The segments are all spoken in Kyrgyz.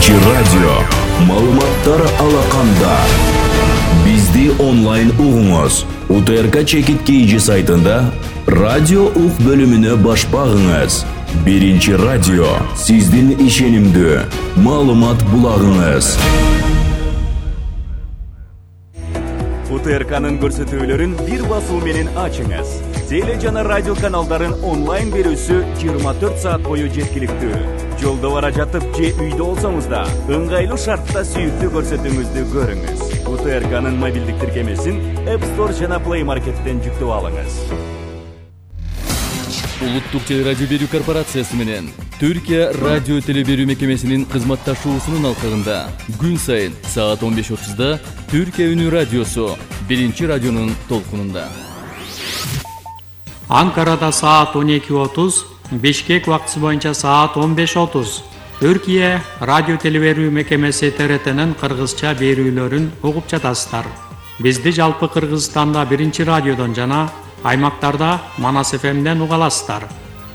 Биринчи радио. Маалыматтар алаканда. Бизди онлайн угуңуз. УТРК Чекит KG сайтында радио ук бөлүмүнө баш багыңыз. Биринчи радио. Сиздин ишенимдүү маалымат булагыңыз. УТРКнын көрсөтүүлөрүн бир басуу менен ачыңыз. Теле жана радио каналдарын онлайн берүүсү 24 саат бою жеткиликтүү. Жолдо бара жатып же үйдө болсоңуз да ыңгайлуу шартта сүйүктүү көрсөтүүңүздү көрүңүз. УТРКнын мобилдик тиркемесин App Store жана Play Market'тен жүктөп алыңыз. Улуттук телерадио берүү корпорациясы менен Түркия радио телеберүү мекемесинин кызматташуусунун алкагында күн сайын саат 15:30 Түркия үнү радиосу биринчи радионун толкунунда. Анкарада саат 12:30, Бишкек убактысы боюнча саат 15:30. Түркия радио телеберүү мекемеси ТРТнын кыргызча берүүлөрүн угуп жатасыздар. Бизди жалпы Кыргызстанда биринчи радиодон жана аймактарда Манас ФМден уга аласыздар.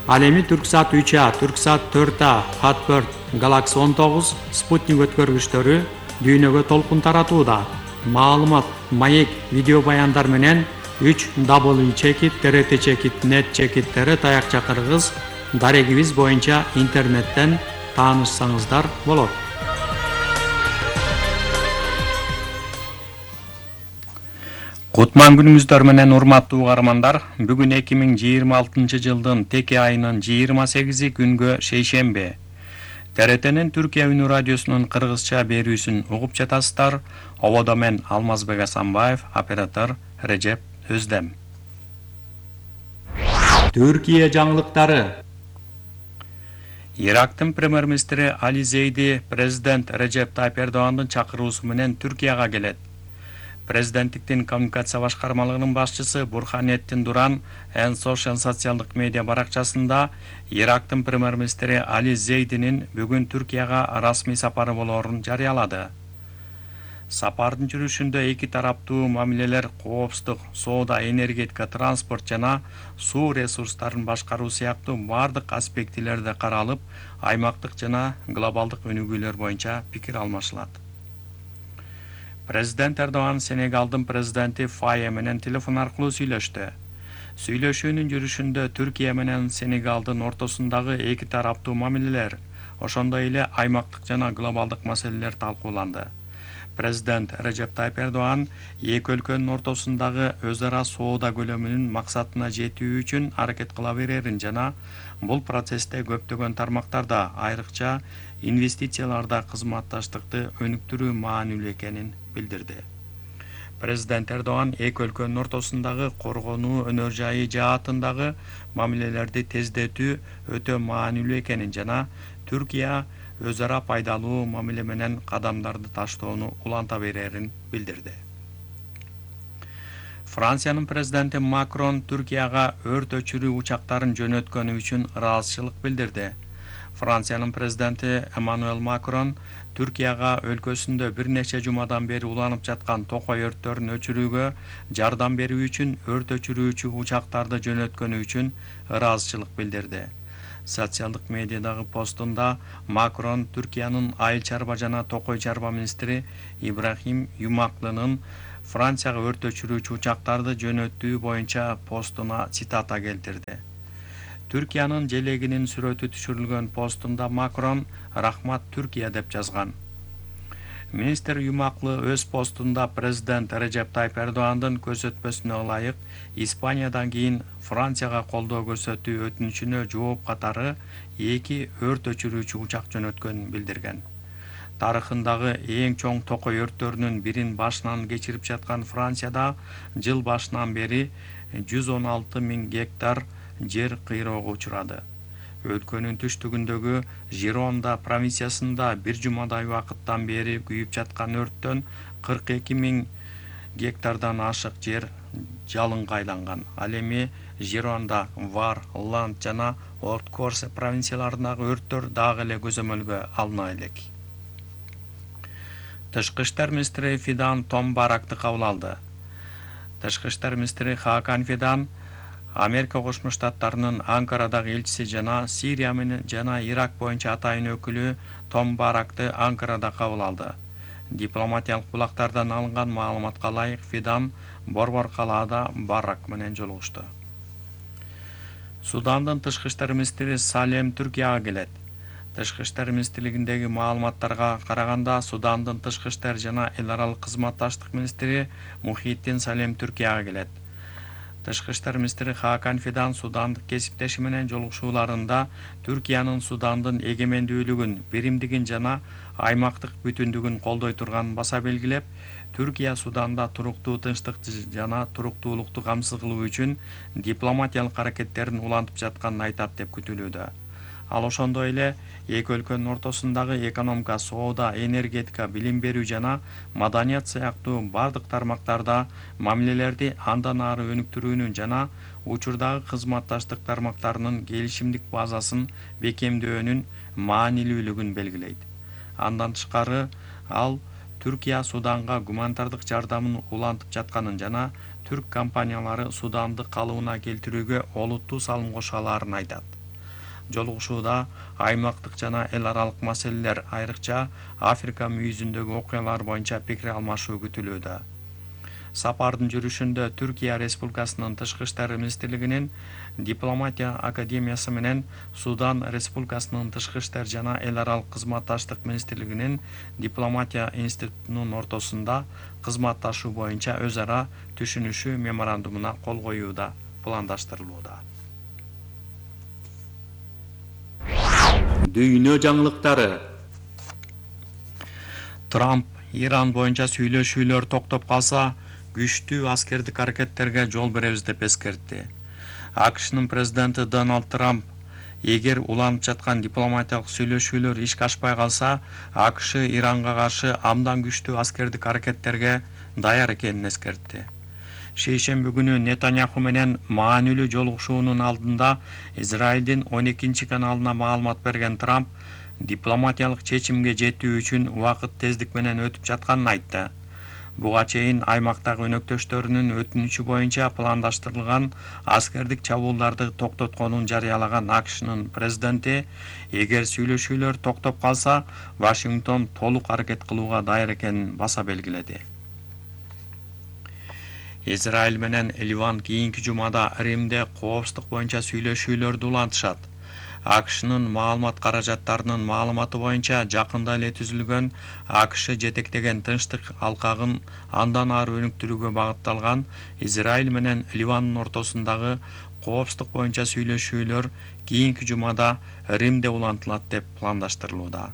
Ал эми Түрксат 3А, Түрксат 4А, Хат4, Галакси 19, Спутник өткөргүчтөрү дүйнөгө толкун таратууда. Маалымат, маек, видео баяндар менен 3W Чекит, TRT Чекит, Net Чекит, таякча кыргыз дарегибиз боюнча интернеттен таанышсаңыздар болот. Кутман күнүңүздөр менен урматтуу угармандар. Бүгүн 2026 жылдын теке айынын 28 күнгө шейшембе. ТРТнин Түркия үнү радиосунун кыргызча берүүсүн угуп жатасыздар. Ободо мен Алмазбек Асанбаев, оператор Режеп Өздем. Түркия жаңылыктары. Ирактын премьер-министри Али Зейди президент Режеп Тайып Эрдогандын чакыруусу менен Түркияга келет. Президенттиктин коммуникация башкармалыгынын башчысы Бурханеттин Дуран Social социалдык медиа баракчасында Ирактын премьер-министри Али Зейдинин бүгүн Түркияга расмий сапары болоорун жарыялады. Сапардын жүрүшүндө эки тараптуу мамилелер, коопсуздук, соода, энергетика, транспорт жана суу ресурстарын башкаруу сыяктуу бардык аспектилерде каралып, аймактык жана глобалдык өнүгүүлөр боюнча пикир алмашылат. Президент Эрдоган Сенегалдын президенти Фае менен телефон аркылуу сүйлөштү. Сүйлөшүүнүн жүрүшүндө Түркия менен Сенегалдын ортосундагы эки тараптуу мамилелер, ошондой эле аймактык жана глобалдык маселелер талкууланды. Президент Режеп Тайып Эрдоган эки өлкөнүн ортосундагы өз ара соода көлөмүнүн максатына жетүү үчүн аракет кыла берерин жана бул процессте көптөгөн тармактарда, айрыкча инвестицияларда кызматташтыкты өнүктүрүү маанилүү экенин билдирди. Президент Эрдоган эки өлкөнүн ортосундагы коргонуу өнөр жайы жаатындагы мамилелерди тездетүү өтө маанилүү экенин жана Түркия өз ара пайдалуу мамиле менен кадамдарды таштоону уланта берерин билдирди. Франциянын президенти Макрон Түркияга өрт өчүрүү учактарын жөнөткөнү үчүн ыраазычылык билдирди. Франциянын президенти Эммануэль Макрон Түркияга өлкөсүндө бир нече жумадан бери уланып жаткан токой өрттөрүн өчүрүүгө жардам берүү үчүн өрт өчүрүүчү учактарды жөнөткөнү үчүн ыраазычылык билдирди. Социалдык медиадагы постунда Макрон Түркиянын айыл чарба жана токой чарба министри Ибрахим Юмаклынын Францияга өрт өчүрүүчү учактарды жөнөтүү боюнча постуна цитата келтирди. Түркиянын желегинин сүрөтү түшүрүлгөн постунда Макрон «Рахмат Түркия» деп жазган. Министр Юмаклы өз постунда президент Режеп Тайып Эрдогандын көрсөтмөсүнө ылайык Испаниядан кийин Францияга колдоо көрсөтүү өтүнүчүнө жооп катары эки өрт өчүрүүчү учак жөнөткөнүн билдирген. Тарыхындагы эң чоң токой өрттөрүнүн бирин башынан кечирип жаткан Францияда жыл башынан бери 116 000 гектар жер кыйроого учурады. Өлкөнүн түштүгүндөгү Жиронда провинциясында бир жумадай убакыттан бери күйүп жаткан өрттөн 42 000 гектардан ашык жер жалынга айланган. Ал эми Жиронда, Вар, Ланд жана Орт-Корсе провинцияларындагы өрттөр дагы эле көзөмөлгө алына элек. Тышкы иштер министри Фидан Том Баракты кабыл алды. Тышкы иштер министри Хакан Фидан Америка Кошмо Штаттарынын Анкарадагы элчиси жана Сирия менен жана Ирак боюнча атайын өкүлү Том Баракты Анкарада кабыл алды. Дипломатиялык булактардан алынган маалыматка ылайык Фидан Борбор калаада Барак менен жолугушту. Судандын тышкы иштер министри Салем Түркияга келет. Тышкы иштер министрлигиндеги маалыматтарга караганда, Судандын тышкы иштер жана эл аралык кызматташтык министри Мухиттин Салем Түркияга келет. Тышкы иштер министри Хакан Фидан судандык кесиптеши менен жолугушууларында Түркиянын Судандын эгемендүүлүгүн, биримдигин жана аймактык бүтүндүгүн колдой турганын баса белгилеп, Түркия Суданда туруктуу тынчтык жана туруктуулукту камсыз кылуу үчүн дипломатиялык аракеттерин улантып жатканын айтат деп күтүлүүдө. Ал ошондой эле эки өлкөнүн ортосундагы экономика, соода, энергетика, билим берүү жана маданият сыяктуу бардык тармактарда мамилелерди андан ары өнүктүрүүнүн жана учурдагы кызматташтык тармактарынын келишимдик базасын бекемдөөнүн маанилүүлүгүн белгилейт. Андан тышкары ал Түркия Суданга гуманитардык жардамын улантып жатканын жана түрк компаниялары Суданды калыбына келтирүүгө олуттуу салым кошо алаарын айтат. Жолугушууда аймактык жана эл аралык маселелер, айрыкча Африка мүйүзүндөгү окуялар боюнча пикир алмашуу күтүлүүдө. Сапардын жүрүшүндө Түркия Республикасынын тышкы иштер министрлигинин дипломатия академиясы менен Судан Республикасынын тышкы иштер жана эл аралык кызматташтык министрлигинин дипломатия институтунун ортосунда кызматташуу боюнча өз ара түшүнүшүү меморандумуна кол коюу да пландаштырылууда. Дүйнө жаңылыктары. Трамп Иран боюнча сүйлөшүүлөр токтоп калса, күчтүү аскердик аракеттерге жол беребиз деп эскертти. АКШнын президенти Дональд Трамп эгер уланып жаткан дипломатиялык сүйлөшүүлөр ишке ашпай калса, АКШ Иранга каршы абдан күчтүү аскердик аракеттерге даяр экенин эскертти. Шейшемби күнү Нетаньяху менен маанилүү жолугушуунун алдында Израилдин 12 каналына маалымат берген Трамп дипломатиялык чечимге жетүү үчүн убакыт тездик менен өтүп жатканын айтты. Буга чейин аймактагы өнөктөштөрүнүн өтүнүчү боюнча пландаштырылган аскердик чабуулдарды токтотконун жарыялаган АКШнын президенти, эгер сүйлөшүүлөр токтоп калса, Вашингтон толук аракет кылууга даяр экенин баса белгиледи. Израиль менен Ливан кийинки жумада Римде коопсуздук боюнча сүйлөшүүлөрдү улантышат. АКШнын маалымат каражаттарынын маалыматы боюнча жакында эле түзүлгөн АКШ жетектеген тынчтык алкагын андан ары өнүктүрүүгө багытталган Израиль менен Ливандын ортосундагы коопсуздук боюнча сүйлөшүүлөр кийинки жумада Римде улантылат деп пландаштырылууда.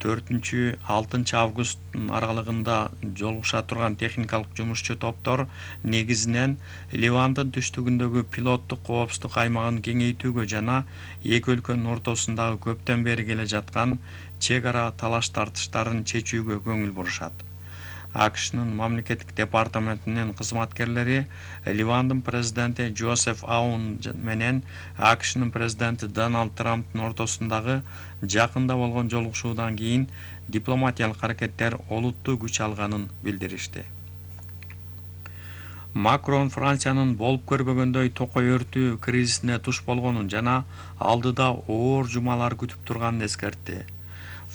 4-6 август аралыгында жолугуша турган техникалык жумушчу топтор негизинен Ливандын түштүгүндөгү пилоттук коопсуздук аймагын кеңейтүүгө жана эки өлкөнүн ортосундагы көптөн бери келе жаткан чек ара талаш тартыштарын чечүүгө көңүл бурушат. АКШнын мамлекеттик департаментинин кызматкерлери Ливандын президенти Джозеф Аун менен АКШнын президенти Дональд Трамптын ортосундагы жакында болгон жолугушуудан кийин дипломатиялык аракеттер олуттуу күч алганын билдиришти. Макрон Франциянын болуп көрбөгөндөй токой өртүү кризисине туш болгонун жана алдыда оор жумалар күтүп турганын эскертти.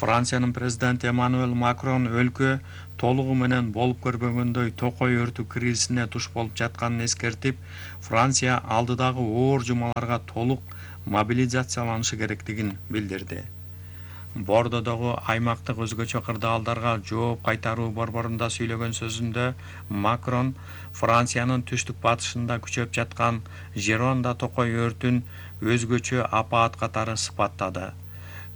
Франциянын президенти Эммануэл Макрон өлкө толугу менен болуп көрбөгөндөй токой өртүү кризисине туш болуп жатканын эскертип, Франция алдыдагы оор жумаларга толук мобилизацияланышы керектигин билдирди. Бордодогу аймактык өзгөчө кырдаалдарга жооп кайтаруу борборунда сүйлөгөн сөзүндө Макрон Франциянын түштүк батышында күчөп жаткан Жеронда токой өртүн өзгөчө апаат катары сыпаттады.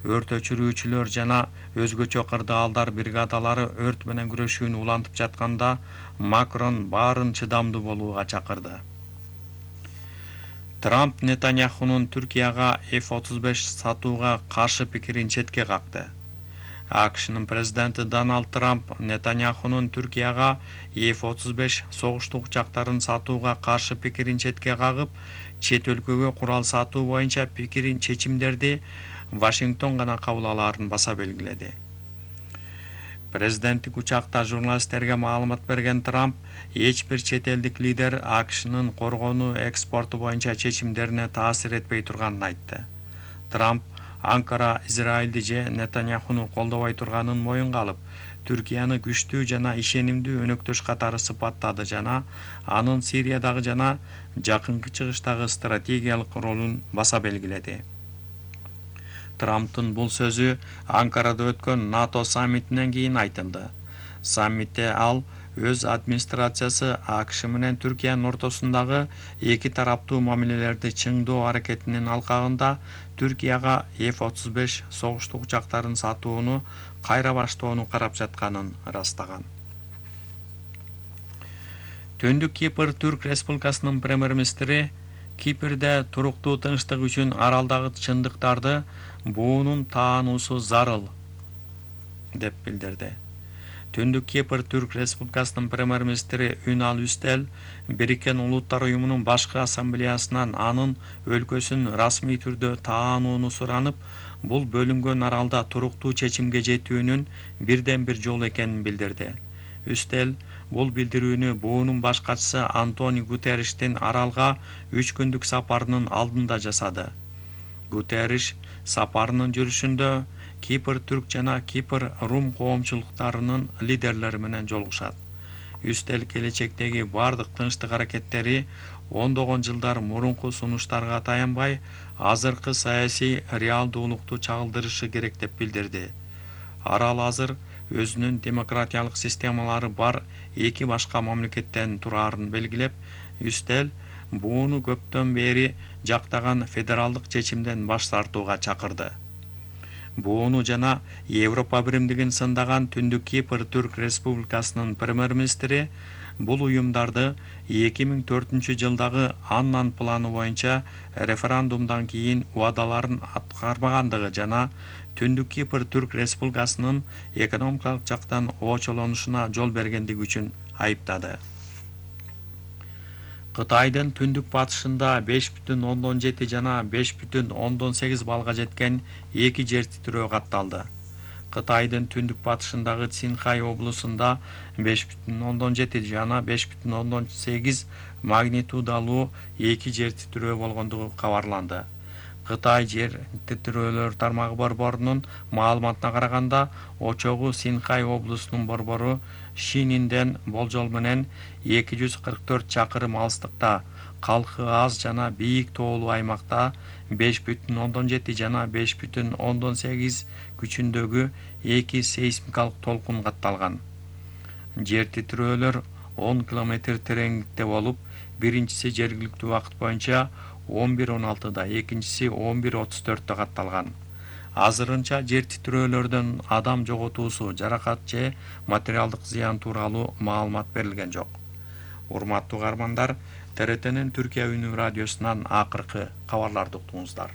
Өрт өчүрүүчүлөр жана өзгөчө кырдаалдар бригадалары өрт менен күрөшүүнү улантып жатканда Макрон баарын чыдамдуу болууга чакырды. Трамп Нетаньяхунун Түркияга F-35 сатууга каршы пикирин четке какты. АКШнын президенти Дональд Трамп Нетаньяхунун Түркияга F-35 согуштук учактарын сатууга каршы пикирин четке кагып, чет өлкөгө курал сатуу боюнча пикирин чечимдерди Вашингтон гана кабыл алаарын баса белгиледи. Президенттик учакта журналисттерге маалымат берген Трамп эч бир чет элдик лидер АКШнын коргонуу экспорту боюнча чечимдерине таасир этпей турганын айтты. Трамп Анкара Израилди же Нетаньяхуну колдобой турганын моюнга алып, Түркияны күчтүү жана ишенимдүү өнөктөш катары сыпаттады жана анын Сириядагы жана Жакынкы Чыгыштагы стратегиялык ролун баса белгиледи. Трамптын бул сөзү Анкарада өткөн НАТО саммитинен кийин айтылды. Саммитте ал өз администрациясы АКШ менен Түркиянын ортосундагы эки тараптуу мамилелерди чыңдоо аракетинин алкагында Түркияга F-35 согуштук учактарын сатууну кайра баштоону карап жатканын ырастаган. Түндүк Кипр Түрк Республикасынын премьер-министри Кипрде туруктуу тынчтык үчүн аралдагы чындыктарды буунун таануусу зарыл деп билдирди. Түндүк Кипр Түрк Республикасынын премьер-министри Үнал Үстел Бириккен Улуттар Уюмунун башкы ассамблеясынан анын өлкөсүн расмий түрдө таанууну суранып, бул бөлүнгөн аралда туруктуу чечимге жетүүнүн бирден бир жолу экенин билдирди. Үстел бул билдирүүнү буунун баш катчысы Антонио Гутерриштин аралга 3 күндүк сапарынын алдында жасады. Гутерриш сапарынын жүрүшүндө Кипр түрк жана Кипр рум коомчулуктарынын лидерлери менен жолугушат. Үстел келечектеги бардык тынчтык аракеттери ондогон жылдар мурунку сунуштарга таянбай, азыркы саясий реалдуулукту чагылдырышы керек деп билдирди. Арал азыр өзүнүн демократиялык системалары бар эки башка мамлекеттен турарын белгилеп, Үстел бууну көптөн бери жактаган федералдык чечимден баш тартууга чакырды. Бууну жана Европа биримдигин сындаган Түндүк Кипр Түрк Республикасынын премьер-министри бул уюмдарды 2004 жылдагы Аннан планы боюнча референдумдан кийин убадаларын аткарбагандыгы жана Түндүк Кипр Түрк Республикасынын экономикалык жактан очолонушуна жол бергендиги үчүн айыптады. Кытайдын түндүк батышында 5,7 жана 5,8 балга жеткен эки жер титирөө катталды. Кытайдын түндүк батышындагы Цинхай облусунда 5,7 жана 5,8 магнитудалуу эки жер титирөө болгондугу кабарланды. Кытай жер титирөөлөр тармагы борборунун маалыматына караганда, очогу Цинхай облусунун борбору Шининден болжол менен 244 чакырым алыстыкта, калкы аз жана бийик тоолуу аймакта 5,7 жана 5,8 күчүндөгү эки сейсмикалык толкун катталган. Жер титирөөлөр 10 км тереңдикте болуп, биринчиси жергиликтүү убакыт боюнча 11:16да, экинчиси 11:34дө катталган. Азырынча жер титирөөлөрдөн адам жоготуусу, жаракат же материалдык зыян тууралуу маалымат берилген жок. Урматтуу каармандар, ТРТнин Түркия үнү радиосунан акыркы кабарларды уктуңуздар.